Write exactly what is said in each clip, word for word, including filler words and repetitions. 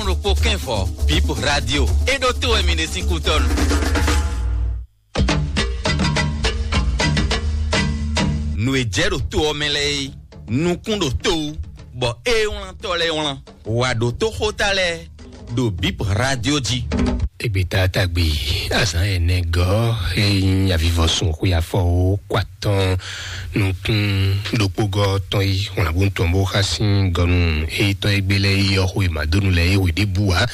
ɖokpó kɛ́nvɔ, Bip Radio. É ɖó tó wɛ mi ɖe sín kútɔ́nu. Nǔ e jɛ ɖo to ɔ́ mɛ lɛ́ɛ é, nukún ɖo to wú, bɔ é wlántɔ́ lɛ́ɛ wlán. Wǎ ɖo tóxóta lɛ́ɛ ɖo Bip Radio jí. Egbeta tagbe azǎn ɛnɛ gɔ́ e nyí avivɔsun xwe afɔ wo kɔ atɔn nukún ɖokpógɔ́ tɔn yi wlǎnbú tɔn bó xá sín gɔnu e tɔn e gbé lɛ́ɛ yi ɔ́ xwe mǎdónu lɛ́ɛ e hwe ɖěbǔ ǎ.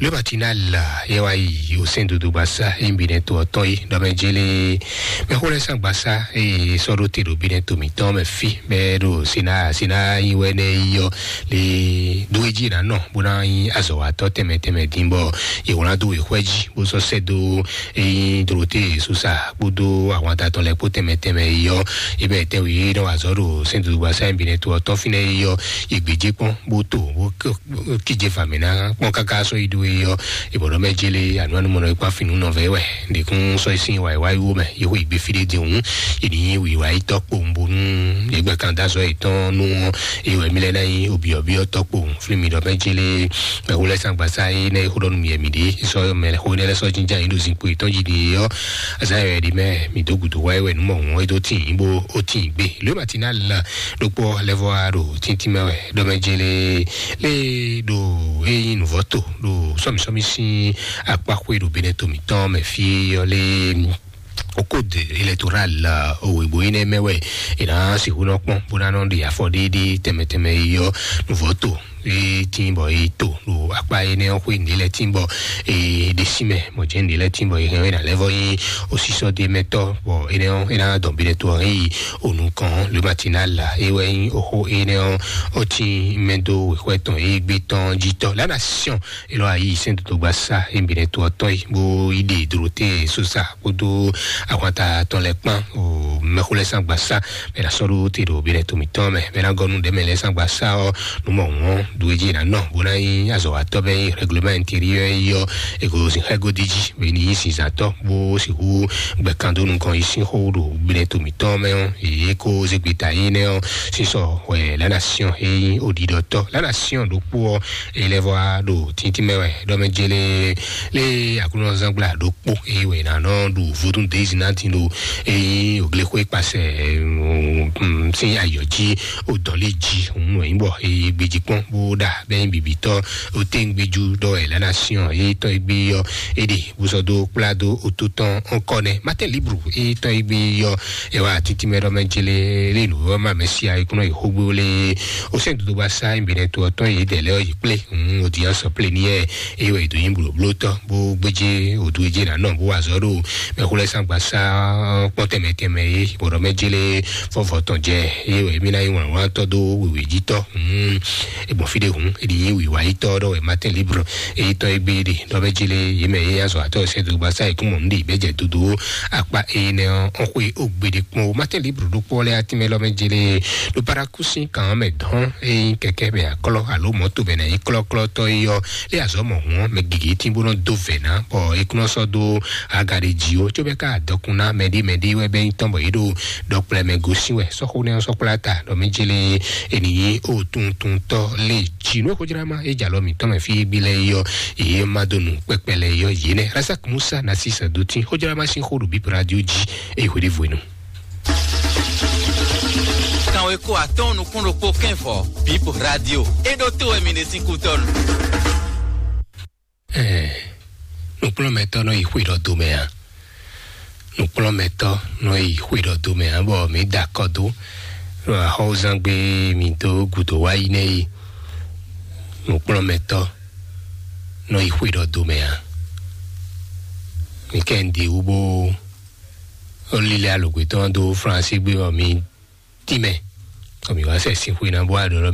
Lóbatina la yɛ wá yi osɛ́n dodogba sá e nyi binɛ to ɔ́ tɔn yi ɖɔ mɛ jélé mɛxó lɛ́ɛ sán gba sá eye sɔ́ ɖó te ɖo binɛ to mǐtɔn mɛ fí mɛ ɖo sina sina yi wɛ nɛ yi ɔ́ le ɖó e jí ná nɔ bó ná nyí azɔ̌watɔ́ tɛnmɛ tɛnmɛ dín bɔ yě wlán dó wěxwɛ́ jí bó sɔ́ sɛ́ dó e nyí Dorote Sosa kpódó ahwanta tɔn lɛ́ɛ kpó tɛnmɛ tɛnmɛ yi ɔ́, yi bɛ tɛn wǐ nɔ wa azɔ̌ ɖo sɛ́n dodogba sá nyi binɛ to ɔ́ tɔn fínɛ́ yi ɔ́, yi gbějé kpɔ́n bó to bó kíje fǎ mɛ ná kpɔ́n káká sɔ́ yi ɖó e ɔ́, ìbɔ̀dɔ́ mɛ jélé ànú anúmɔ̀nà e kpán fínú nɔ vɛ wɛ. Ndékún sɔ́ yi sín wǎ wá wó mɛ, yě xo ìgbé fí ɖé din hǔn, yě ní wǐwá yi tɔ́ kpowun bónú yě gbɛ kan dó azɔ̌ yětɔn nú ɔ́, é wɛ mí lɛ́ ná nyí obyɔ̌byɔ́ tɔ́ kpowun. Flí mi ɖɔ mɛ jélé mɛ xó lɛ́ sán gbasá é nɛ́ é xó ɖɔ nú mì yɛ mǐ ɖě, sɔ́ mɛ xó nɛ́ lɛ́ sɔ́ jínján yě ɖo zinkpo yětɔn jí ɖe ɔ́, azǎn yɛ ɖi mɛ mǐ dó gǔdo wá é wɛ nú mɔ hǔn é dó tín bó ó tín gbé. Lě matinal ɖokpó lɛ́ vɔ wá ɖo tíntín mɛ wɛ ɖɔ mɛ jélé lé ɖo é nyí nǔvɔ́ to ɖo sɔ́mìsɔ́mì sín akpáxwé ɖo Benɛto mǐtɔn mɛ fí ɔ́ lé. Code électoral òwìbò énɛ́ mɛ wɛ è nǎ sixú nɔ kpɔ́n bó ná nɔ ɖe afɔ ɖéɖé tɛnmɛ tɛnmɛ yi ɔ́ nǔvɔ́ to e tín bɔ e to ɖo akpá énɛ́ ɔ́ xwé nǐ lɛ́ tín bɔ e ɖe sí mɛ mɔ̌ jɛ́n nǐ lɛ́ tín bɔ e hɛn ɛ ná lɛ́ vɔ nyí osísɔ́ ɖé mɛ tɔ́ bɔ énɛ́ ɔ́ é ná dɔn Benɛto ɔ́ hɛn yi onukɔn lě matinal é wɛ nyí oxó énɛ́ ɔ́ ó tín mɛ dó wěxwɛ́ tɔn e gbé tɔn jí tɔ́ lánàá siɔn. Elɔ ayi sɛn dodogba sa e Benɛto ɔ́ tɔn yi bó yi ɖe Dorote Sosa kpódó ahwanta tɔn lɛ́ɛ kpán o mɛxó lɛ́ɛ sán gba sa mɛ ná sɔ́ ɖó te ɖo Benɛto mǐtɔn mɛ mɛ ná gɔ́ nú ɖɛ̌mɛ lɛ́ɛ sán gba sa ɔ́ nú mɔ wɔn ɖu e jí è nǎ nɔ bó ná nyí azɔ̌watɔ́ bɛ nyí règlement intérieur yi ɔ́ e ko sin xɛ́ godi jí bɛ ní nyí sinzantɔ́ bó sixú gbɛ̀kan dó nukɔn yi sín xó ɖo Benɛto mǐtɔn mɛ ɔ́ yě ko zé gbeta yi nɛ́ ɔ́ sísɔ hwɛ la nation e nyí oɖiɖɔtɔ́ la nation ɖokpó ɔ́ e lɛ́ vɔ wá ɖo tíntín mɛ wɛ ɖɔ mɛ jélé lé aklúnɔzángbla ɖokpó e wɛ ná nɔ ɖu vodún dezi ná tin ɖo e nyí òglexwé kpasɛ sín ayɔ jí o dɔn lé jí òun wɛ nyí bɔ e gbèjì kpɔ́n bó ɖa bɛ nyí bibitɔ o tɛngbɛju ɖɔ ɛ la nation e tɔn e gbé yɔ e ɖe bó sɔ dó kplá dó o tó tɔn ɔkɔ nɛ Martin Libre e tɔn e gbé yɔ e wá títí mɛ ɖɔ mɛ jélé lé nǔ ɔ́ ma mɛ sia e kúnɔ yi xógbó lé o sɛn dodo ba sa e Benɛto ɔ́ tɔn yě dɛ lɛ ɔ́ yě kplé òun o di ɔ́ sɔ plé ní yɛ e wɛ do nyí blóblótɔ bó gbéjé o du e jé ná nɔ bó wá zɔ ɖo mɛ xó lɛ sán gba sa kpɔn tɛmɛ tɛmɛ e bɔdɔ mɛ jélé fɔfɔ tɔn jɛ e wɛ mi ná yi wlán wlán tɔ dó wěwé jí tɔ egbɔn fi ɖe hùn e ɖi yí wǐwá yi tɔ ɖɔ wɛ Martin Libre e tɔ e gbé ɖe ɖɔ mɛ jélé yé mɛ yé azɔ atɔ sɛ do gba sa e kún mɔ nu ɖe bɛ jɛ dodo akpa e nɛ ɔn xwe o gbe ɖe kpɔn o Martin Libre ɖo kpɔ lɛ atimɛ lɔ mɛ jélé ɖo paraku sín kan mɛ dɔn e kɛkɛ mɛ aklɔ alo mɔto mɛ na yi klɔklɔtɔ yi ɔ e azɔ mɔ hɔn mɛ gigi tí bó nɔ do vɛ ná bɔ e kún nɔ sɔ do aga ɖe dzi o tso bɛ ka dɔkun ná mɛ ɖi mɛ ɖi wɛ bɛ nyí tɔn bɔ yé ɖo ɖɔkplɛ mɛ gosin wɛ sɔxo nɛ sɔkplɛ ata ɖɔ mɛ jélé e ni yi o tuntun tɔ lé dzi nú xojrama e jalɔ mǐtɔn mɛ fi gbi lɛ yi ɔ e ma do nu kpɛkpɛ lɛ yi ɔ yé nɛ Razak Musa na si sɛ do tí xojrama sín xó ɖo bíp radio dzi e xwe ɖe vwenu. Kanwe ko atɔn nukún ɖokpó kɛnfɔ bíp radio e ɖo to wɛ mi ɖe sín kútɔnu. Ɛɛ, nukplɔ́nmɛtɔ́ nɔ yi xwe ɖɔ do mɛ a? Nukplɔ́nmɛtɔ́ nɔ yi xwe ɖɔ do mɛ a bɔ mi da akɔ do ɖo axɔwúzangbe mi dó gǔdo wá yi nɛ yi. Nukplɔ́nmɛtɔ́ nɔ yi xwe ɖɔ do mɛ a? Mi kɛ ń di wú bó ó lílɛ́ alɔgbětɔn dó Flánsi gbé bɔ mi tínmɛ. Kɔ mi wá sɛ sín xwe ná bó wá ɖɔ lɔ